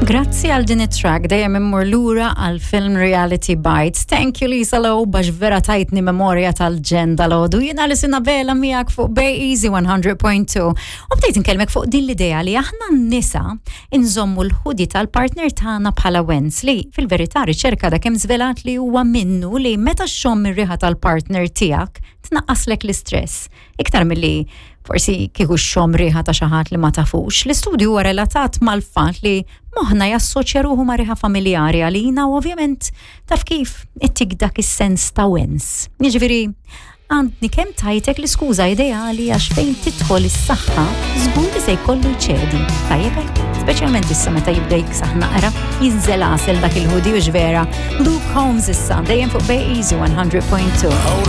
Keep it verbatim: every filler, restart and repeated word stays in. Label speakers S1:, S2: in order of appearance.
S1: Grazzi għal din it-track dejjem immur lura għal film Reality Bites. Thank you, Lisa Low, għax vera tajtni memorja tal-ġen dalgħodu. Jiena li sina bela miegħek fuq Bay Easy one hundred point two. U bdejt nkellmek fuq din l-idea li aħna n-nisa inżommu l-hoodie tal-partner tagħna bħala wens, li fil-verità riċerka da kemm żvelat li huwa minnu li meta xxomm ir-riħa tal-partner tiegħek tnaqqaslek l-istress. Iktar milli forsi kieku xxomm riħa ta' xi ħadd li ma tafux. L-istudju huwa relatat mal-fatt li moħna jassoċja ruħu ma' riħa familjari għalina u ovvjament, taf kif, ittik dak is-sens ta' wens. Jiġifieri, għandni kemm tajtek l-iskuża ideali għax fejn tidħol is-saħħa żgur li se jkollu jċedi. Tajjeb hekk? Speċjalment issa meta jibda jiksaħ naqra, jinżel għasel dak il-hoodie u vera. Luke Holmes issa, dejjem fuq Bay Easy one hundred point two.
S2: Hold